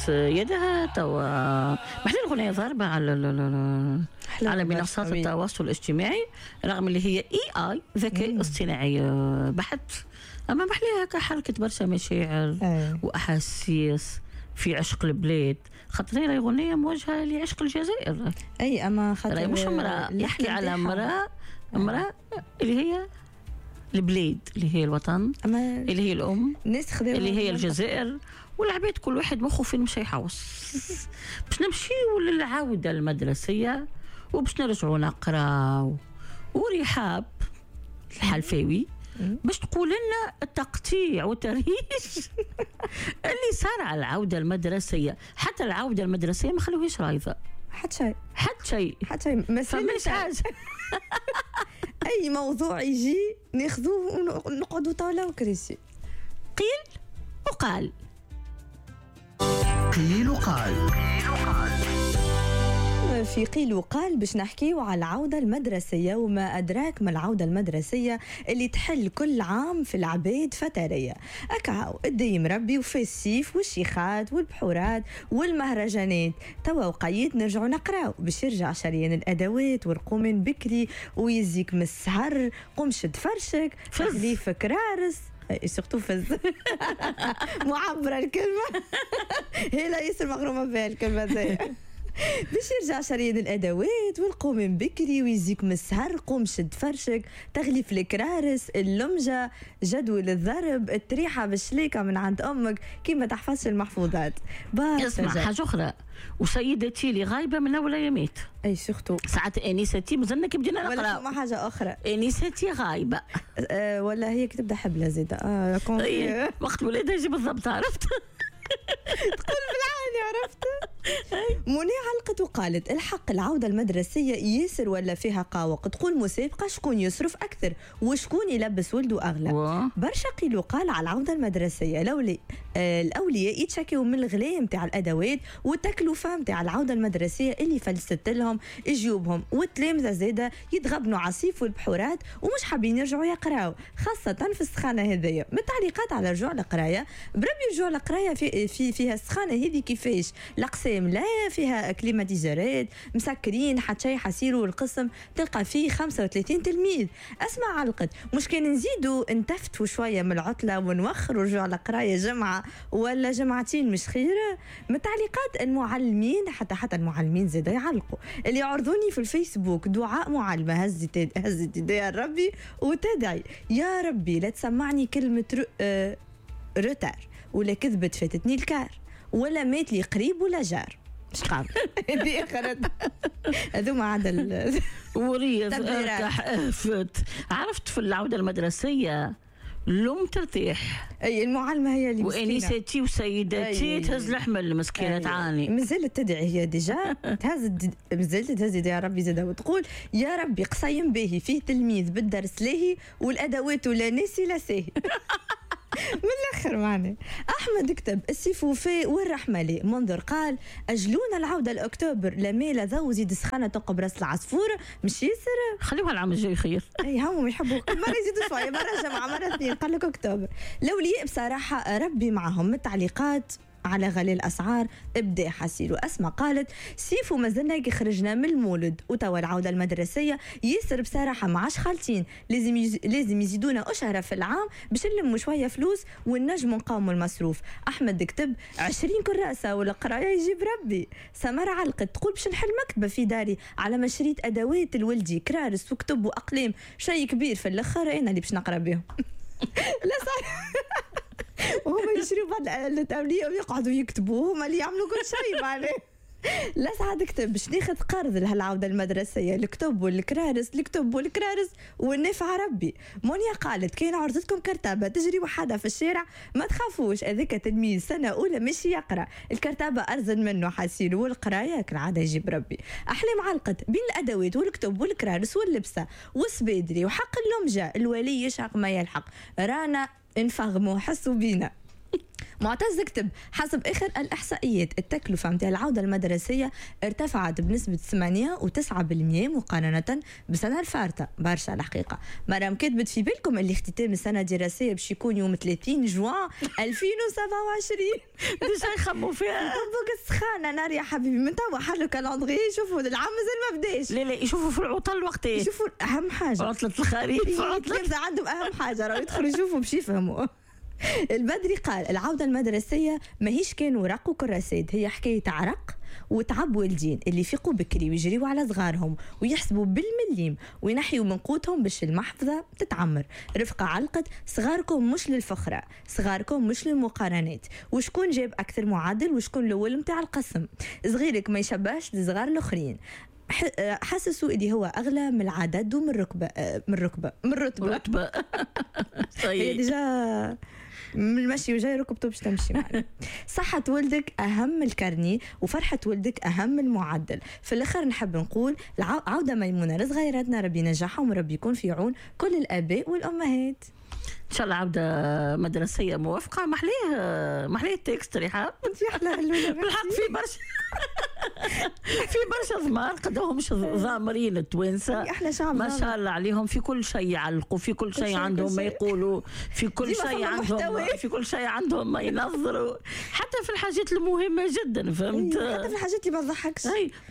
تبوس يدها. توا محلي الغنية ضاربة على منصات التواصل الاجتماعي، رغم اللي هي AI ذكاء اصطناعي بحت، اما محليها هكا حركت برشا مشاعر واحاسيس في عشق البلاد، خاطر هي غنية موجهة لعشق الجزائر. اي اما خاطر مش امرأة، يحكي على امرأة اللي هي البلاد، اللي هي الوطن، اللي هي الأم، اللي هي الجزائر. والعباد كل واحد مخه فين مش يحوس. باش نمشيو للعودة المدرسية وباش نرجعوا نقراو، ورحاب الحلفاوي باش تقول لنا التقطيع والترهيش اللي صار على العودة المدرسية. حتى العودة المدرسية ما خلوهاش رايضة، حتى شيء، حتى شيء، حتى شيء، ما فماش حاجة. أي موضوع يجي ناخذوه ونقعدوا طاولة وكراسي. قيل وقال، قيل وقال. في قيل وقال باش نحكيو على العودة المدرسية، وما أدراك ما العودة المدرسية اللي تحل كل عام في العباد فترية. أكاو الديم ربي وفي السيف والشيخات والبحورات والمهرجانات. توا وقيت نرجعو نقراو باش يرجع شريان الأدوات والقومين بكري ويزيك من السهر، قوم شد فرشك، تغليف كرارس، surtout فز معبرة الكلمة، هي لا ياسر مغرومة بها الكلمة زي. باش يرجع شريان الادوات والقوم بكري ويزيك من السهر، قوم شد فرشك، تغليف الكرارس، اللمجه، جدول الضرب، التريحه بالشليكه من عند امك كي ما تحفظش المحفوظات. اسمع حاجة اخرى، وسيدتي اللي غايبة من اول ايامات، اي surtout ساعات انيستي مازلنا كي بدينا نقرا، ولا فما حاجة اخرى انيستي غايبة ولا هي كي تبدا حبلة زاده وقت ولادها يجي بالضبط، عرفت تقول بالعاني، عرفت. منى علقت وقالت الحق العودة المدرسية ياسر ولا فيها قاوق، تقول مسابقة شكون يصرف أكثر وشكون يلبس ولده أغلى. برشا قيل وقال على العودة المدرسية، الأولياء يتشكيوا من الغلاء نتاع الأدوات والتكلفة نتاع العودة المدرسية اللي فلست لهم جيوبهم، والتلامذة زادة يتغبنوا عصيف والبحورات ومش حابين يرجعوا يقراوا خاصة في السخانة هذيا. من التعليقات على رجوع القراية، بربي رجوع القراية في فيها السخانة هذه كيفاش؟ الأقسام لا فيها climatiseur ات، مسكرين، حتى شيء حسيروا القسم تلقى فيه 35 تلميذ. اسمع علقت مش كان نزيدوا نتفتوا شوية من العطلة ونوخروا رجوع القراية جمعه ولا جمعتين مش خير؟ من تعليقات المعلمين، حتى المعلمين زاد يعلقوا، اللي يعرضوني في الفيسبوك دعاء معلمه هزت يديها ربي وتدعي يا ربي لا تسمعني كلمة retard ولا كذبت فاتتني ال car ولا مات لي قريب ولا جار. مش قابل هذه اخرت هذوما عاد وريض اركح افت. عرفت في العودة المدرسية لم ترتاح، اي المعلمة هي اللي وانيستي وسيدتي تهز الحمل المسكينة تعاني، مازالت تدعي هي déjà تهز، مازالت تهز يا ربي زاد وتقول يا ربي قصيم باهي فيه تلميذ بالدرس لاهي والادوات ولا ناسي لا ساهي. من الاخر معنا احمد كتب السيف وفاء والرحمة لي. منذر قال اجلونا العودة لاكتوبر، لا ميلا ذو زيد سخانه تقب راس العصفور مش ياسر، خليوها العام الجاي خير. اي هم يحبوا كل مرة يزيدوا شوية، مرة جمعه مرة اثنين، قال لك اكتوبر. الاولياء بصراحة ربي معهم. من التعليقات على غلاء الاسعار ابدا حسيل. واسماء قالت سيفو مازلنا كي خرجنا من المولد وتوا العودة المدرسية ياسر بصراحة ما عادش خالتين، لازم يزيدونا اشهره في العام باش نلموا شوية فلوس ونجموا نقاوموا المصروف. احمد كتب 20 كراسة والقرايه يجيب ربي. سمر علقت تقول باش نحل مكتبه في داري على ما شريت ادوات الولدي كرارس وكتب واقلام، شيء كبير في الاخر انا اللي باش نقرا بهم. لا صح، وهما يشريوا بعد الأولياء ويقعدوا يكتبوا، هما اللي يعملوا كل شيء معناه. لا سعد كتب باش ناخذ قرض لهالعودة المدرسية، الكتب والكرارس، الكتب والكرارس والنافع ربي. مونيا قالت كاين عرضتكم كرتابة تجري وحدها في الشارع ما تخافوش، هذاك تلميذ سنة أولى مش يقرأ، الكرتابة أرزن منه حسيل والقراية كالعادة يجيب ربي. أحلام علقت بين الأدوات والكتب والكرارس واللبسة والسبادري وحق اللمجة، الولي يشعق ما يلحق، رانا انفغموا حسوا بينا. معتز كتب: حسب اخر الاحصائيات، التكلفة نتاع العودة المدرسية ارتفعت بنسبة 8 و9% مقارنة بالسنة الفارطه، برشا الحقيقه. مرام كتبت: في بالكم اللي اختتام السنة الدراسية باش يكون يوم 30 جوان 2027؟ déjà يخموا فيها. طبق السخانه نار يا حبيبي، من توا حلوا calendrier، شوفوا العام مازال ما بداش. لا لا، يشوفوا في العطل وقت ايه. يشوفوا اهم حاجه. عطلة الخريف، عطلة. عطلة عندهم اهم حاجه، راهو يدخلوا يشوفوا باش يفهموا. البدري قال: العودة المدرسية ماهيش كان ورق وكراسات، هي حكاية عرق وتعب والدين اللي يفيقوا بكري ويجريوا على صغارهم ويحسبوا بالمليم وينحيوا من قوتهم باش المحفظة تتعمر. رفقة علقت: صغاركم مش للفخرة، صغاركم مش للمقارنات وشكون جاب أكثر معدل وشكون الأول متاع القسم. صغيرك ما يشبهش لصغار الآخرين، حسسوا اللي هو اغلى من العدد ومن الركبه، من الركبه، من الرتبه. رتبة. هي طيب. déjà من المشي وجاي ركبته باش تمشي معنا. صحة ولدك أهم من ال carnet وفرحة ولدك أهم من المعدل. في الآخر نحب نقول عودة ميمونة لصغيراتنا، ربي ينجحهم وربي يكون في عون كل الآباء والأمهات. ان شاء الله عوده مدرسيه موفقه. محليه محليه ال texte رحاب. انت احلى هلولة. بالحق في برشا ضمار، قدهم مش ضامرين التوانسه. احلى شعب. ما شاء الله عليهم، في كل شيء يعلقوا، في كل شيء شيء، عندهم كل ما شيء. يقولوا، في كل ديما شيء فما عندهم محتوى. في كل شيء عندهم ما ينظروا، حتى في الحاجات المهمة جدا، فهمت؟ حتى في الحاجات اللي ما تضحكش. اي.